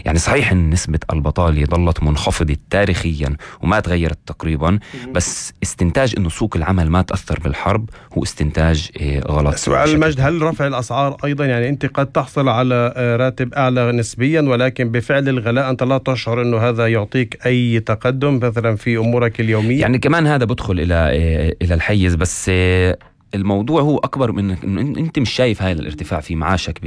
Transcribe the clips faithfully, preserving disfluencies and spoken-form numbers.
يعني صحيح ان نسبة البطالة ظلت منخفضة تاريخيا وما تغيرت تقريبا، بس استنتاج انه سوق العمل ما تأثر بالحرب هو استنتاج غلط. سؤال مجد، هل رفع الأسعار أيضا، يعني أنت قد تحصل على راتب أعلى نسبيا ولكن بفعل الغلاء أنت لا تشعر أنه هذا يعطيك أي تقدم مثلا في أمورك اليومية؟ يعني كمان هذا بدخل إلى إلى الحيز، بس الموضوع هو أكبر من إنه أنت مش شايف هاي الارتفاع في معاشك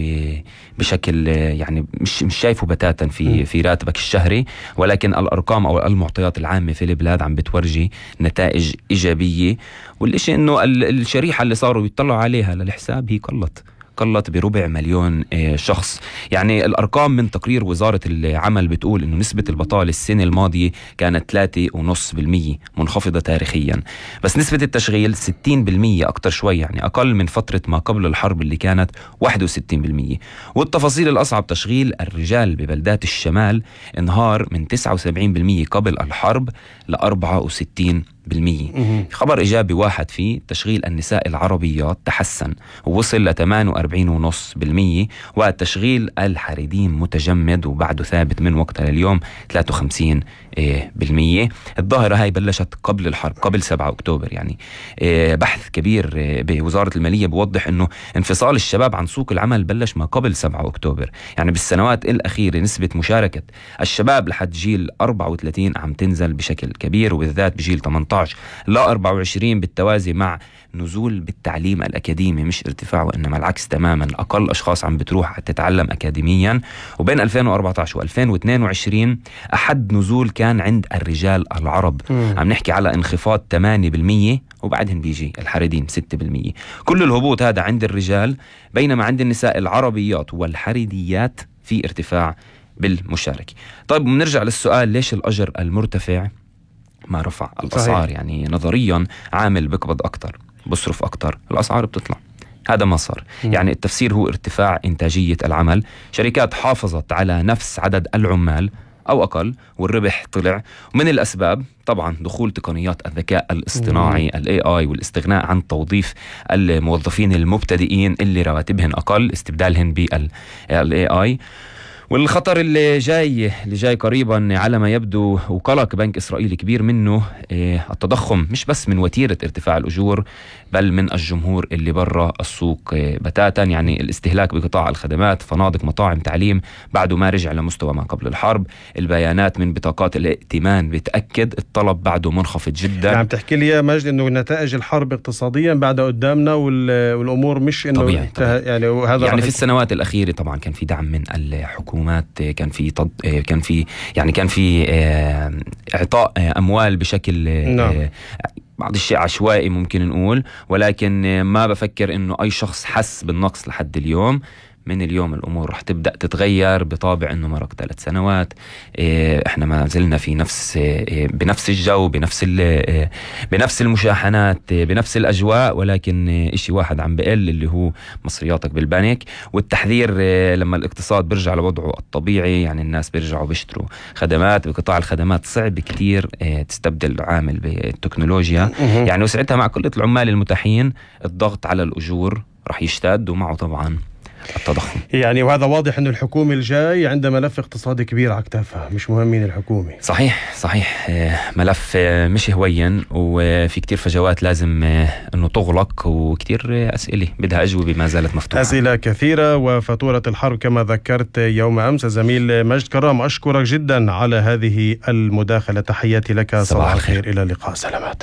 بشكل، يعني مش مش شايفه بتاتا في في راتبك الشهري، ولكن الأرقام أو المعطيات العامة في البلاد عم بتورجي نتائج إيجابية. والإشي إنه الشريحة اللي صاروا يطلعوا عليها للحساب هي قلت قلت بربع مليون شخص. يعني الأرقام من تقرير وزارة العمل بتقول إنه نسبة البطالة السنة الماضية كانت ثلاثة ونص بالمية، منخفضة تاريخيا، بس نسبة التشغيل ستين بالمية، أكتر شوي، يعني أقل من فترة ما قبل الحرب اللي كانت واحد وستين بالمية. والتفاصيل الأصعب، تشغيل الرجال ببلدات الشمال انهار من تسعة وسبعين بالمية قبل الحرب ل أربعة وستين بالمية. خبر إيجابي واحد فيه تشغيل النساء العربيات تحسن ووصل ل ثمانية وأربعين فاصلة خمسة بالمية، والتشغيل الحريدين متجمد وبعده ثابت من وقتها لليوم ثلاثة وخمسين بالمية. الظاهرة هاي بلشت قبل الحرب، قبل سبعة أكتوبر. يعني بحث كبير بوزارة المالية بوضح أنه انفصال الشباب عن سوق العمل بلش ما قبل سبعة أكتوبر. يعني بالسنوات الأخيرة نسبة مشاركة الشباب لحد جيل أربعة وثلاثين عم تنزل بشكل كبير، وبالذات بجيل ثمانية عشر لا أربعة وعشرين، بالتوازي مع نزول بالتعليم الأكاديمي، مش ارتفاع وإنما العكس تماما. أقل أشخاص عم بتروح تتعلم أكاديميا. وبين ألفين وأربعة عشر وألفين واثنين وعشرين أحد نزول كان عند الرجال العرب، م. عم نحكي على انخفاض ثمانية بالمية، وبعدين بيجي الحريدين ستة بالمية. كل الهبوط هذا عند الرجال، بينما عند النساء العربيات والحريديات في ارتفاع بالمشاركة. طيب بنرجع للسؤال، ليش الأجر المرتفع ما رفع الأسعار؟ صحيح. يعني نظريا عامل بقبض أكتر، بصرف أكتر، الأسعار بتطلع. هذا ما صار. م. يعني التفسير هو ارتفاع إنتاجية العمل، شركات حافظت على نفس عدد العمال أو أقل والربح طلع. ومن الأسباب طبعا دخول تقنيات الذكاء الاصطناعي ال إيه آي والاستغناء عن توظيف الموظفين المبتدئين اللي رواتبهم أقل، استبدالهم بال إيه آي. والخطر اللي جاي اللي جاي قريبا على ما يبدو، وقلق بنك إسرائيلي كبير منه إيه التضخم، مش بس من وتيرة ارتفاع الأجور بل من الجمهور اللي برا السوق إيه بتاتا. يعني الاستهلاك بقطاع الخدمات، فنادق، مطاعم، تعليم، بعده ما رجع لمستوى ما قبل الحرب. البيانات من بطاقات الائتمان بتأكد الطلب بعده منخفض جدا. يعني بتحكي لي يا مجد انه نتائج الحرب اقتصاديا بعد قدامنا والامور مش انه طبيعي طبيعي. يعني وهذا يعني في السنوات الأخيرة طبعا كان في دعم من الحكومة، كان في طد... كان في يعني كان في اعطاء اموال بشكل نعم. بعض الشيء عشوائي ممكن نقول، ولكن ما بفكر انه اي شخص حس بالنقص لحد اليوم. من اليوم الأمور رح تبدأ تتغير بطابع أنه مرق ثلاث سنوات، إحنا ما زلنا في نفس بنفس الجو، بنفس بنفس المشاحنات، بنفس الأجواء، ولكن إشي واحد عم بقل اللي هو مصرياتك بالبنك. والتحذير لما الاقتصاد برجع لوضعه الطبيعي، يعني الناس بيرجعوا بيشتروا خدمات. بقطاع الخدمات صعب كتير تستبدل عامل بالتكنولوجيا، يعني وساعتها مع كل العمال المتاحين الضغط على الأجور رح يشتد، ومعه طبعا التضخم. يعني وهذا واضح أن الحكومة الجاي عندها ملف اقتصادي كبير على كتافها، مش مهم مين الحكومة. صحيح صحيح، ملف مش هوين، وفي كتير فجوات لازم أنه تغلق، وكتير أسئلة بدها أجوبة ما زالت مفتوحة. أسئلة كثيرة وفاتورة الحرب كما ذكرت يوم أمس. زميل مجد كرام، أشكرك جدا على هذه المداخلة، تحياتي لك، صباح الخير، إلى اللقاء، سلامات.